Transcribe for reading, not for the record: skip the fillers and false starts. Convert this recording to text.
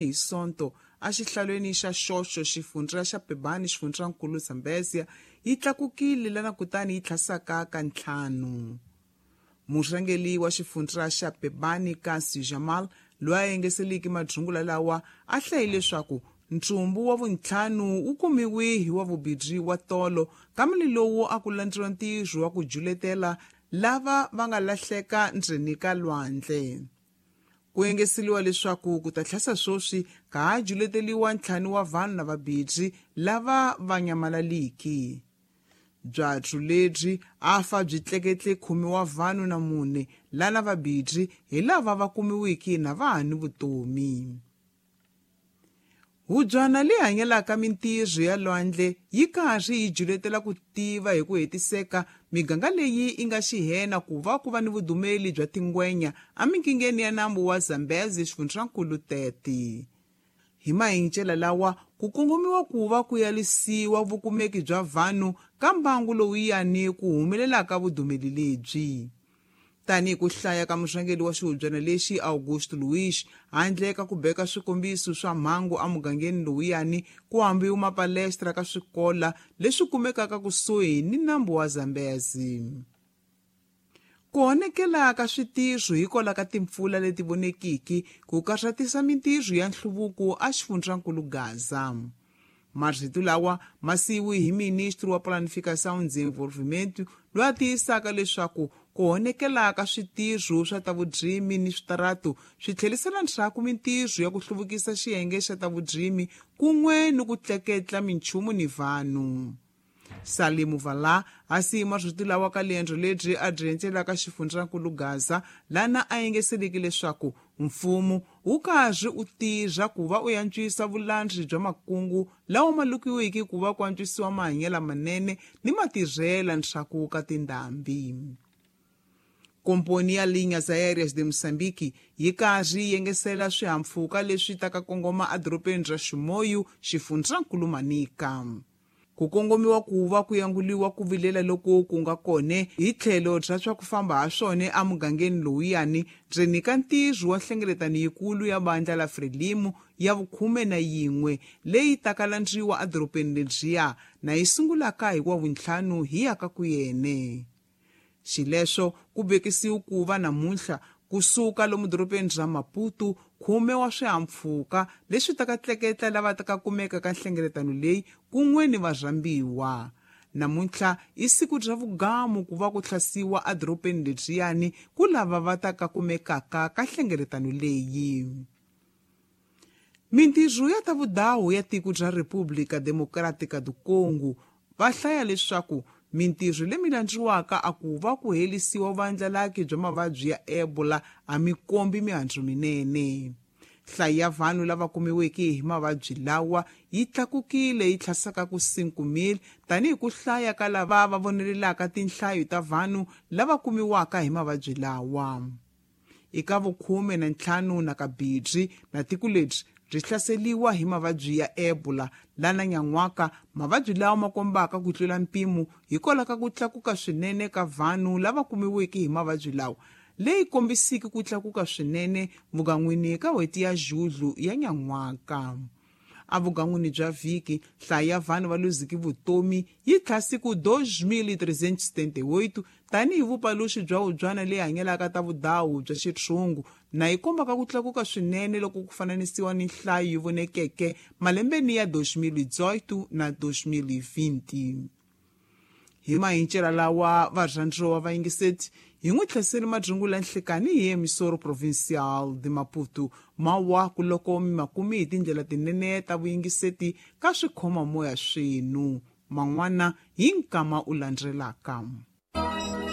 Hi Sonto exihlalweni xa Xoxo, xifundza xa Pebane, xifundzankulu Zambezia, yi tlakukile lana kutani yi tlhasaka ka ntlhanu. Murhangeri wa xifundza xa Pebane, Kasi Jamal, loyi a yengeseliki madrungula lawa, a hlaye leswaku ntsumbu wa vuntlhanu wu kumiwe hi wa vubirhi wa tolo kambe lowu a ku landziwa ntirho wa ku juletela lava va nga lahleka ndzeni ka lwandle. Ku engeseliwa leswaku ku ta tlhasa swoswi ka ha juleteliwa ntlhanu wa vanhu na vabirhi lava va nyamalaliki. Byatsu lebyi a fa byi tleketle khume wa vanhu na mune lana vabirhi hi lava va kumiwiki na va ha ni vutomi. Hubyana leyi hanyelaka mintirho ya lwandle yi karhi yi juletela ku tiva hi ku hetiseka miganga leyi yi nga xihena ku va ku va ni vudumeli bya tingwenya emikingeni ya nambu wa Zambezi xifundzankulu 30. Hi mahincela lawa ku kongomiwa ku va ku yalisiwa vukumeki bya vanhu ka mbangu lowuyani ku humelelaka vudumeli lebyi. Tanihi ku hlaya ka murhangeri wa xihubyana lexi Augusto Luiz, handle ka ku beka swikombiso swa mhangu emugangeni lowuyani ku hambiwa mapalestra ka swikola leswi kumekaka kusuhi ni nambu wa Zambezi. Ku honekela ka switirho hikwalaho ka timpfula leti vonekiki ku karhatisa mintirho ya nhluvuko exifundzankulu Gaza. Marito lawa ma siyiwe hi ministri wa Planificação e Desenvolvimento loyi a tiyisaka leswaku ku honekela ka switirho swa ta vurimi ni switaratu swi tlherisela ndzhaku mintirho ya ku hluvukisa xiyenge xa ta vurimi kun'we ni ku tleketla minchumu ni vanhu. Salimu Vala a siyi marito lawa ka liendzo lebyi a byi endlelaka xifundzankulu Gaza lana a yengeseliki leswaku mfumo wu karhi u tirha ku va u antswisa vulandzi bya makungu lawa ma lukiwiki ku va ku antswisiwa mahanyelo manene ni matirhela ndzhaku ka tindhambi. Komponi ya Linhas Aéreas de Moçambique yi karhi yi yengesela swihahampfhuka leswi taka kongoma edorobeni ra Chimoio, xifundzankulu Manica. Ku kongomiwa ku va ku yanguliwa ku vilela loku ku nga kone hi tlhelo bya swa ku famba ha swona emugangeni lowuyani ndzeni ka ntirho wa nhlengeletano yikulu ya vandla la Frelimo ya vukhume na yin'we leyi taka landziwa edorobeni lebyiya na yi sungulaka hi wa vuntlhanu hi ya ka ku yene. Xileswo ku vekisiwe ku va namuntlha kusuka lomu dorobeni ra Maputo khume wa swihahampfhuka leswi taka tleketla lava taka kumeka ka nhlengeletano leyi kun'we ni varhambiwa. Namuntlha i siku ra vugamu ku va ku hlasiwa edorobeni lebyiyani ku lava va taka kumekaka ka nhlengeletano leyi. Mintirho ya ta vudawu ya tiko ra República Democrática do Congo va hlaya leswaku mintirho leyi landziwaka a ku va ku herisiwa vandlalaki bya mavabyi ya Ebola a mi kombi mihandzu minene. Nhlayo ya vanhu lava kumiweke hi mavabyi lawa yi tlakukile yi tlhasaka ku 5,000 tanihi ku hlaya ka lava va vonelelaka tinhlayo ta vanhu lava kumiwaka hi mavabyi lawa. Eka vukhume na ntlhanu na kabirhi na tiko lebyi byi hlaseriwa hi mavabyi ya Ebola lana nyan'waka mavabyi lawa ma kombaka ku tlula mpimo hikwalaho ka ku tlakuka swinene ka vanhu lava kumiweke hi mavabyi lawa leyi kombisiki ku tlakuka swinene vugan'wini ka n'hweti ya Julhu ya nyan'waka. Evugan'wini bya vhiki nhlayo ya vanhu va luziki vutomi yi tlhasi ku 2378 tanihi vupaluxi bya hubyana leyi hanyelaka ta vudawu bya xitshungu na yi kombaka ku tlakuka swinene loko ku fananisiwa ni nhlayo yi vonekeke malembeni ya 2018 na 2020. Hi mahincela lawa varhandziwa va yingiseti hi n'wi tlheseli madrungula nhlekani hi emisoro provincial de Maputo mawaku loko mi makumi hi tindlela tinene ta vuyingiseti ka swikhomamoya swenu man'wana hi nkama u landzelaka.